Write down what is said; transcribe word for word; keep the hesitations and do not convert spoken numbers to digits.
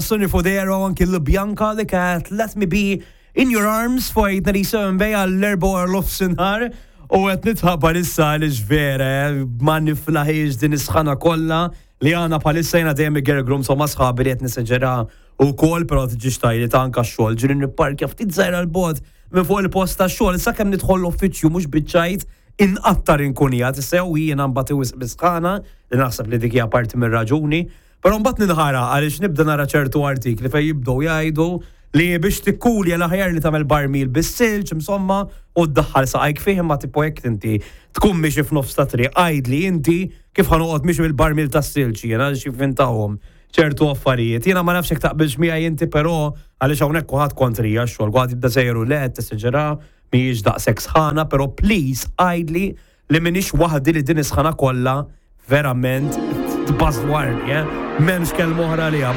Sonny Fodera u anki l-Bianca li kat Let Me Be In Your Arms fuq eight ninety-seven Bay għall-erbgħa wara nofsinhar u qed nitħabbar issa li vera ma niflaħiex din is-sħana kollha li għandna bħalissa. Jiena dejjem igergrum so ma sħabi li qed nesaġera ukoll, però tiġix tajli ta' anka xogħol ġiri nipparkja ftit żgħira 'l bogħod minn fuq il-post ta' xogħol, sakemm nidħol l-uffiċċju, mhux biċ-ċajt, inqattar inkunijat, sew jiena mbagħad wisq bis-sħana li naħseb li dik hija parti mir-raġuni. Però mbagħad ninħara għaliex nibda nara ċertu artikli fejn jibdew jgħidu li biex tikkulja l-aħjar li tagħmel barmil bis-silġ, insomma, u ddaħħal saqajk fih, imma tipo jekk inti tkun miexi f'nofs ta' triq, għidli inti kif ħa noqgħod miexi bil-barmil tas-silġ jiena, xi fintahom ċertu affarijiet. Jiena ma nafx jekk taqbilx miegħi inti, però għaliex hawnhekk kulħadd kontrija x-xogħol, kulħadd jibda sejru le tesaġera, mhijiex daqshekk sħana, però please għidli li m'iniex waħdi li din is-sħana kollha verament tbażwarni, eh? M'hemmx kelma oħra liha.